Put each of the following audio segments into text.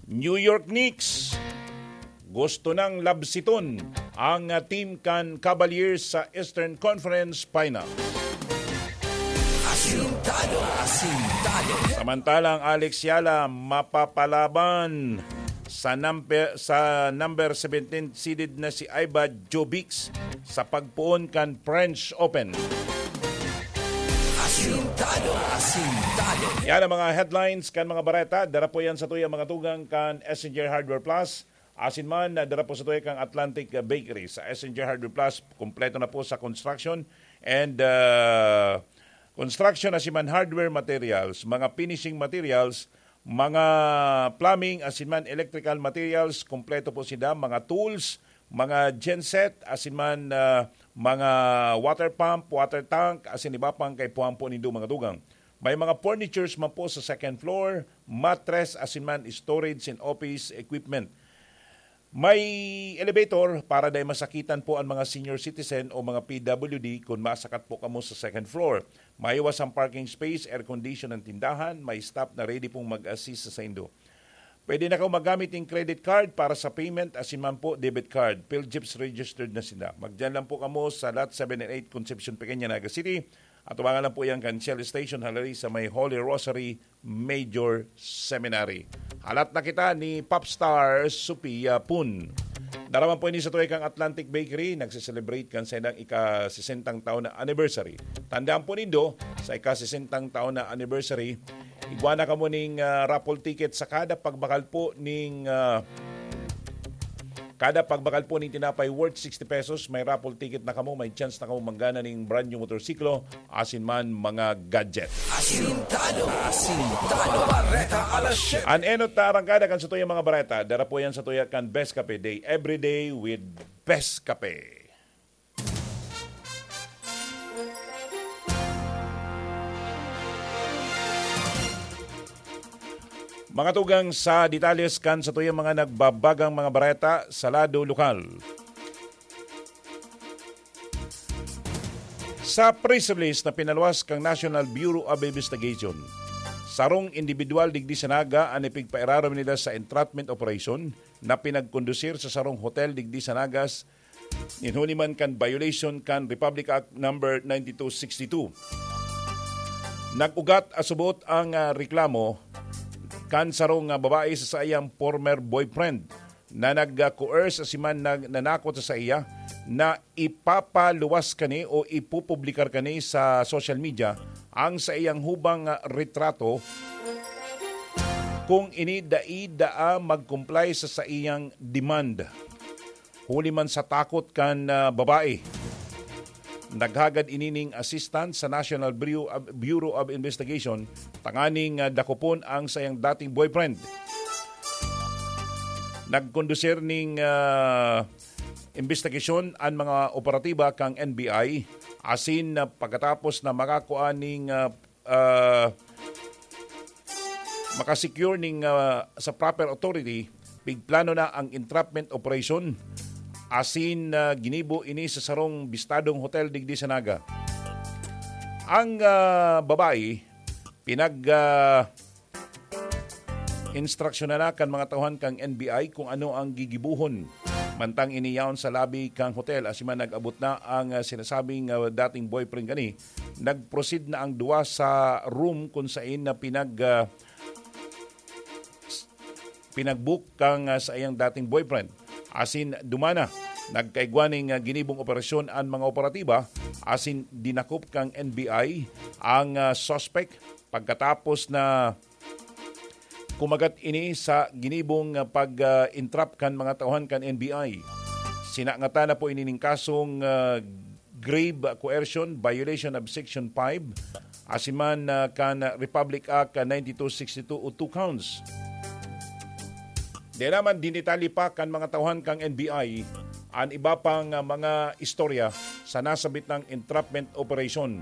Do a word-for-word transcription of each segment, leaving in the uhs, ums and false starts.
New York Knicks, gusto nang labsiton ang, ah, team kan Cavaliers sa Eastern Conference Final. Asintado, asintado. Samantalang Alex Yala mapapalaban sa number, sa number seventeen seeded na si Iva Jovic sa pagpoon kan French Open. Asintado, asintado. Yan ang mga headlines kan mga bareta. Dara po yan sa tuyang mga tugang kan S N J Hardware Plus. Asin man, dara po sa tuyang kan Atlantic Bakery. Sa S N J Hardware Plus, kompleto na po sa construction and, ah, construction asin man hardware materials, mga finishing materials, mga plumbing asin man electrical materials, kompleto po sila, mga tools, mga genset, asin man, ah, mga water pump, water tank, asin iba pang kaipuhan po nindo mga tugang. May mga furnitures man po sa second floor, mattress, asin man storage and office equipment. May elevator para dai masakitan po ang mga senior citizen o mga P W D kun masakat po kamo sa second floor. Maiwas ang parking space, air condition ang tindahan, may staff na ready pong mag-assist sa saindo. Pwede na kaw magamit ning credit card para sa payment, asin man po debit card. PhilGeps registered na sila. Magdiyan lang po kamo sa Lot seven and eight, Concepcion Pequeña, Naga City. At tumangan lang po yan kan Shell Station, halari sa may Holy Rosary Major Seminary. Halat na kita ni Popstar Sophia Pun. Dara man po ini sa tuyang kan Atlantic Bakery, nagse-celebrate kan saindang ika-sesentang taon na anniversary. Tandaan po nindo, sa ika-sesentang taon na anniversary, igwa na kamo ning, ah, raffle ticket sa kada pagbakal po ning, ah, kada pagbakal po ning tinapay worth sixty pesos, may raffle ticket na kamo, may chance na kamo manggana ning brand new motorsiklo, asin man mga gadget. Asintado, asintado. Bareta alas siyete. An enot na arangkada kan sa tuyang mga bareta, dara po yan sa tuya kan Best Cafe Day, every day with Best Cafe. Mga tugang sa detalles kan sa tuyang mga nagbabagang mga bareta sa lado lokal. Sa press release na pinaluwas kan National Bureau of Investigation, sarong indibidwal digdi sa Naga an ipigpairarom nila sa entrapment operation na pinagkondusir sa sarong hotel digdi sa Naga nin huli man kan violation kan Republic Act Number ninety-two sixty-two. Nag-ugat asubot ang, ah, reklamo kan sarong, ah, babae sa saiyang former boyfriend na nag-coerce asin man nag-, nanakot sa saiya na ipapaluwas kani o ipupublikar kani sa social media ang saiyang hubang, ah, retrato kung ini dai daa mag-comply sa saiyang demand. Huli man sa takot kan, ah, babae, naghagad ini ning assistance sa National Bureau of, Bureau of Investigation tanganing, ah, dakopon ang saiyang dating boyfriend. Nagkondusir ning, ah, imbestigasyon an mga operatiba kan N B I asin, ah, pagkatapos na makakua ning, ah, ah, makasecure ning, ah, sa proper authority, pigplano na ang entrapment operation asin, ah, ginibo ini sa sarong bistadong hotel digdi sa Naga. Ang, ah, babae, pinag, ah, instruksyonan na kan mga tauhan kan N B I kung ano ang gigibohon. Mantang ini yaon sa lobby kan hotel, asin man nag-abot na ang, ah, sinasabing, ah, dating boyfriend kani, nag-proceed na ang duwa sa room kun sain na pinag, ah, pinag-book kan, ah, saiyang dating boyfriend. Asin duman na, nagkaigwa ning, ah, ginibong operasyon an mga operatiba, asin dinakop kan N B I ang, ah, suspect pagkatapos na kumagat ini sa ginibong, ah, pag, ah, entrap kan mga tauhan kan N B I. Sinangatan na po ini ning kasong, ah, grave coercion, violation of Section five, asin man, ah, kan Republic Act, ah, ninety-two sixty-two o two counts. Di naman dinetalye pa kan mga tauhan kan N B I an iba pang, ah, mga istorya sa nasabit nang entrapment operation.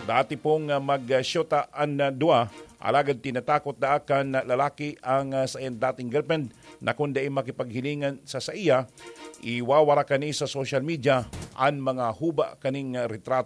Dati pong, ah, mag-shota an, ah, duwa, alagad tinatakot daa kan lalaki ang, ah, saiyang dating girlfriend na kun dai makipaghilingan sa saiya, iwawara kani sa social media an mga huba kaning, ah, retrato.